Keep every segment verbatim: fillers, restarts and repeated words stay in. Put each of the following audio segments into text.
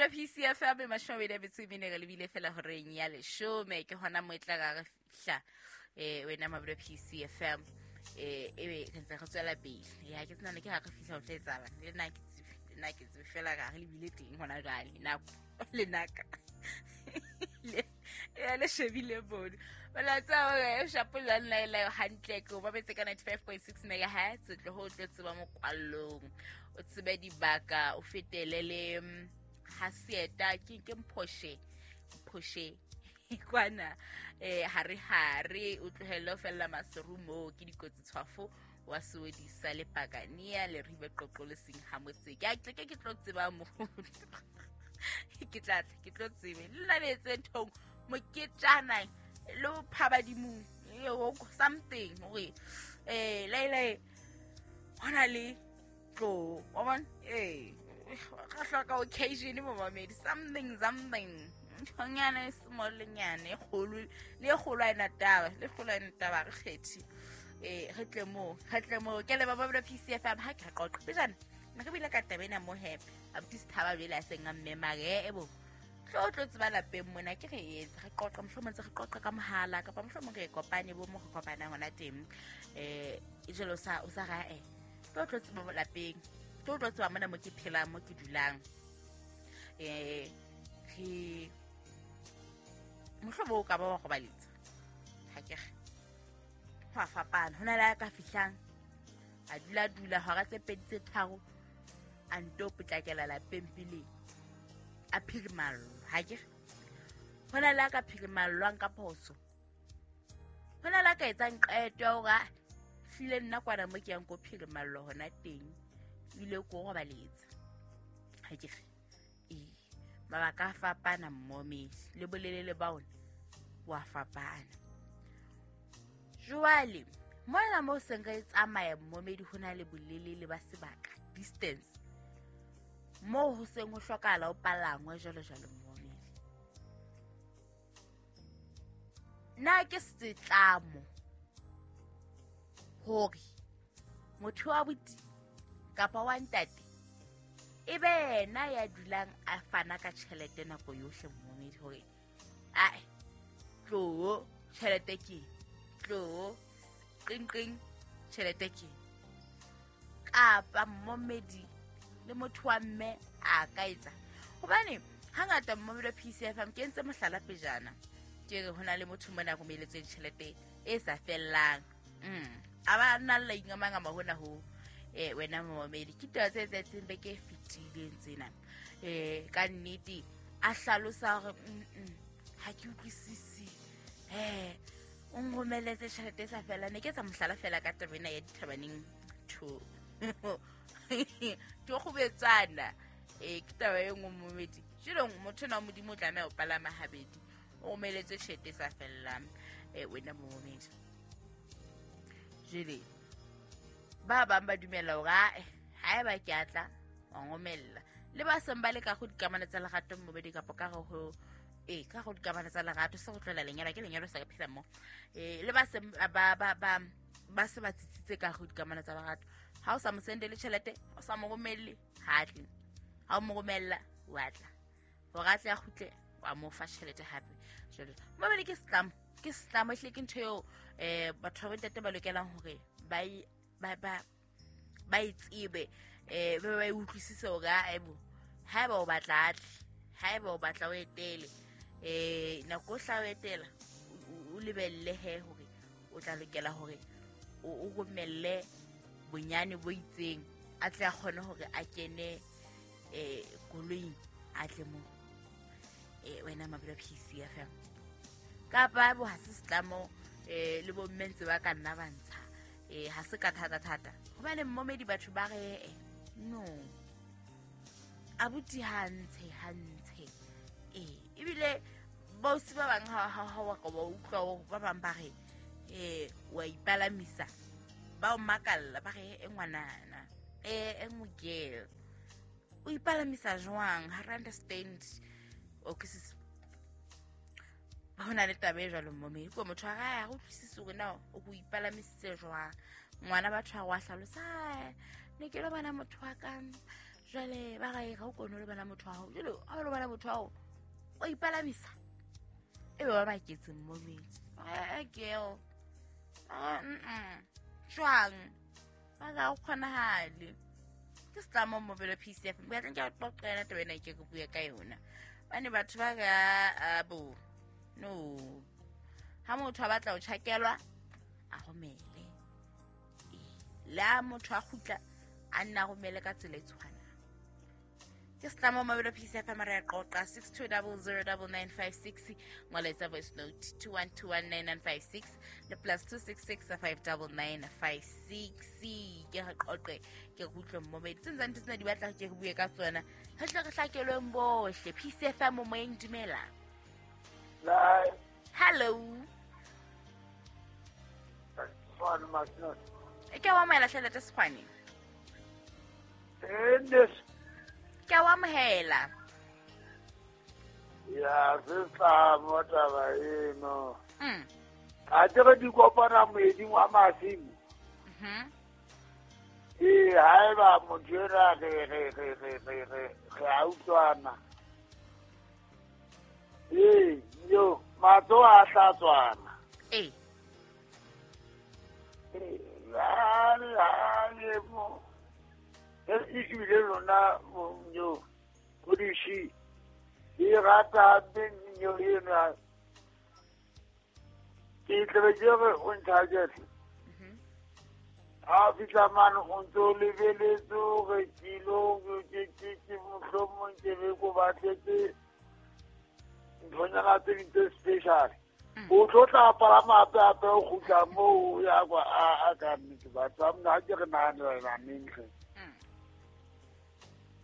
P C F M mashome a mabedi a metso e mene re lebile fela horeng ya leshome ke hona mo e tla re fihla eh wena mabelo P C F M eh ebe re ntse re tswela pele ya ke tsena ke ha re fihla ho tla etsahala le nna ke tsebe le nna ke tsebe fela ga re lebile teng hona jwale nako le naka le ya le shebile bone wala tsa hore shapo la nna le hantle ke o babetse ka ninety-five point six megahertz tlo ho tlo tseba mokwallong o tsebe dibaka o fetele le ha sieta ke ke mphoshe mphoshe kwana eh hare hare o tlohelle fella maserumo ke dikotsi tshwafo wa sewedisa le pakania le ribe qoqo le seng ha motse ke ke ke tlo tseba mo ke tla ke tlo tsebe le la letse nthong moketjana lo phabadimong something hore eh le hona le tlo wa bona eh ga hloka occasion mo mamedi something something nthonyana e small nyana e kgolo le kgolo a ena taba le kgolo a ena taba re kgethi eh re tle mo re tle mo ke le ba ba P C F M ha ke qoqa pejana nna ke bile ka taba ena mo happy abuti sithaba bele a seng a mmema re ebo tlo tlo tseba lapeng mona ke re etse re qoqa mohlomong tse re qoqa ka mohala kapa mohlomong re kopane bo mo re kopanang hona teng eh jelo sa o sa ra e tlo tlo tseba lapeng tlo tlo tseba mona mo ke phelang mo ke dulang eh re mohlomong o ka ba wa go baletsa ha ke re ho a fapana hona le a ka fihlang a dula dula hora tse pedi tse tharo a nto potlakela lapeng pele a phirimallo ha ke hona le a ka phirimallwang ka phoso hona le a ka etsang qeto ya hore hlile nna kwana mo ke yang ko phirimallo hona teng ile ko robaletsa ha ke re ee mabaka a fapana mmomedi le bolelele ba ona wa fapana. Jwale mona mo seng re tsamaya mmomedi ho na le bolelele ba sebaka distance mo ho seng ho hlokahala o palangwe jwalo jwalo mmomedi. Na ke setlamo hore motho wa buti kapa wa ntate e be yena ya dulang a fana ka tjhelete nako yohle mmomedi hore ai tlo tjhelete ke tlo qing qing tjhelete ke kapa mmomedi le motho wa mme a ka etsa hobane hangata mmomedi wa P C F M ke entse mohlala pejana ke re hona le motho mona romeletswe tjhelete e sa fellang mm a ba nna la ingamanga hona ho eh wena mmomedi ke taba tse etsahetseng beke e fetileng tsena eh ka nnete a hlalosa hore mm ha ke utlwisisi eh o nromeletse tjhelete e sa felang ne ke etsa mohlala fela ka taba ena ya dithabaneng two to kgobetsana eh ke taba e nngwe mmomedi jelo motho na modimo o tlameha ho palama habedi o romeletse tjhelete e sa fellang eh wena mmomedi jele ba bang ba dumela hore haeba ke atla wa ngomella le ba seng ba le ka go dikamano tsa lerato mmobedi kapa ka go eh ka go dikamano tsa lerato se go tlola lenyalo ke lenyalo sa ka phela mo eh le ba seng ba ba ba ba se ba tsitsitse ka go dikamano tsa lerato ha o sa mo sendele tjhelete o sa mo romelle ha tle ha o mo romella wa tla hore a tle a kgutle wa mo fa tjhelete hape jwale mmobedi ke setlamo ke setlamo ehlile ke ntho eo eh batho ba bontate ba lokelang hore ba ba ba ba itsebe eh ba ba utlwisise hore aebo haeba o batla atle haeba o batla o etele eh nako hla o etela o lebelle he hore o tla lokela hore o romelle bonyane bo itseng a tle a kgone hore a kene eh koloing a tle mo eh wena mabelo P C F M kapa bo ha se setlamo eh le bo mme ntse ba ka nna ba ntsha eh ha se ka thata thata hobane mmomedi batho ba re no abuti ha ntshe ha ntshe eh ebile bosi ba bang ha ha wa ka ba utlwa ba bang ba re eh wa ipalamisa ba o makalla ba re e ngwanana eh e ngwe o ipalamisa jwang ha re understand o ke se hona le taba e jwalo mmomedi ko motho a ga go utlwisise hore na o go ipalamisitse jwang ngwana batho a wa hlalosa ne ke lo bona motho wa ka Jwale ba re ga o kone le bana motho wa hao. Jwale ha o le bana motho wa hao o ipalamisa. E be ba baketse mmomedi. Eh girl. Ah mm. Jwang? Ba ga o kgonahale. Ke setlamo mobile P C F. Ba tla ke qoqela taba ena ke go bua ka yona. Bane batho ba ga abo. No. Ha motho a batla ho tjhakelwa a romele. La motho a kgutla a nna romele ka tsela e tshwanang. Ke setlamo mobile P C F mara ya qoqa six two zero zero nine nine five six ngoletsa voice note two one two one nine nine five six le plus two six six five nine nine five six. Ke re qoqe ke re utlwe mmomedi tse ntseng tsena di batla ke re bue ka tsona re tle re hlakelweng bohle. P C F mo moyeng, dumela. Hello. E ke wa amohela tjhelete Sekgwane? Ke wa amohela. Ya setlamo taba eno. Mm. A tere di kopana moeding wa masimo. Mhm. Ee, haeba motho enwa re re re re re re re a utlwana. Ee, yo matsoho a hlatswana. Ee. Ee, le mo. E ebile lona yo podishi e rata beng yo ena. Ke tle ke re o ntshajetse. Ha fihla mane o ntso lebeletse hore kilo ke ke ke mohlomong ke be ko batletse nthonyana tse ding tse special. O tlo tla palama hape hape o kgutla moo o ya kwa a ka nnete batho ba mna ha ke re nahanela neng hle.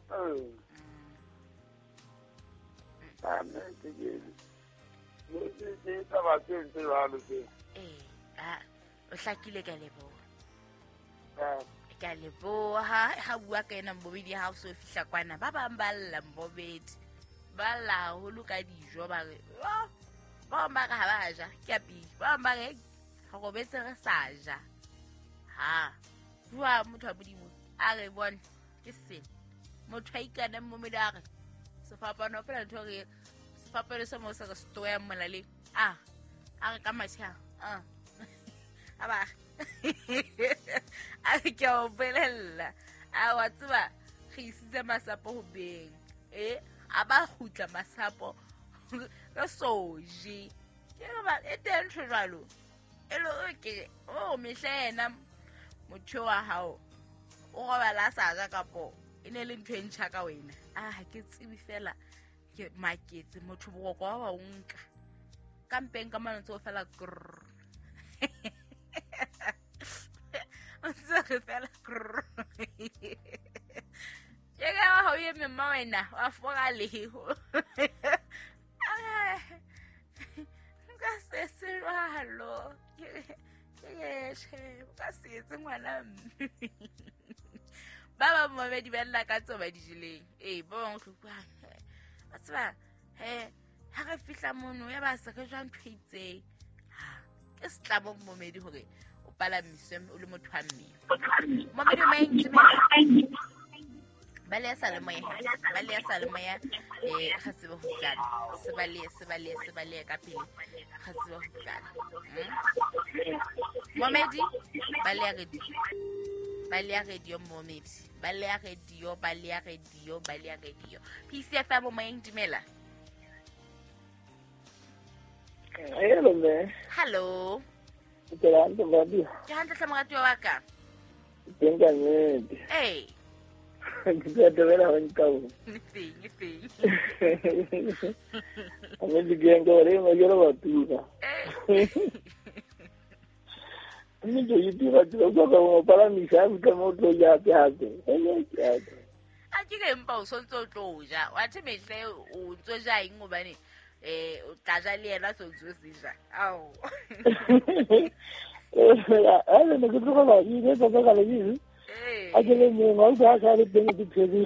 Eh. Ka nnete ke ke ke taba tse ntse jwalo tse. Eh, ah, o hlakile ka leboha. Ka leboha ha bua ka ena mbobedi ha o so fihla kwana ba bang ba lla mbobedi ba lla haholo ka dijo ba re ba bang ba re ha ba ja ke a pele ba bang ba re re robetse re sa ja ha bua motho wa Modimo a re bone ke sena motho a ikana mmomedi a re sefapano fela ntho re sefapano se mo se re stoya molaleng a a re ka matjha a a ba a ke o bolella a wa tseba re isitse masapo ho beng eh a ba kgutla masapo re so je ke ba e teng ntho jwalo e le ke o mehla yena motho wa hao o robala sa ja kapo e ne le ntho e ntjha ka wena a ha ke tsebe fela ke maketse motho boroko wa ba o nka ka mpeng ka mane ntse o fela grrr ntse re fela grrr ke ka ha o eme mma wena wa foka leho nka se se jwalo ke tjhe ka se etse ngwana mme ba ba mmedi ba lla ka tseo ba di jeleng ee ba bang tlhokwang ba tseba he ha re fihla mono ya ba se re jwa ntho e itseng ha ke setlamo mmomedi hore o palamiswe o le motho wa mme mmomedi o maeng ba le sa le moya ba le sa le moya eh ga tsebe ho utlwana se ba le se ba le se ba le ka pele ga tsebe ho utlwana momedi ba le radio ba le radio momedi ba le radio ba le radio ba le radio P C F M moyeng dumela. Hello me. Hello. Ke hantle babi. Ke hantle hle moratuwa wa ka. Teng ka nnete. Ee. Ke tla thabela ho nka o. Teng, teng. A me di ke nka re ma jero ba tuka. Mme ke itira ke go ka mo palamisa ka mo tlo ya ke hape. A ke ke mpa o sontso o tlo ja. Wa the mehle o ntso ja eng hobane eh o tla ja le yena so ntso se ja. Ao. Eh, a le ne ke tloga ba ile tsa ka le. A ke le mongwe o sa le teng ke phedi.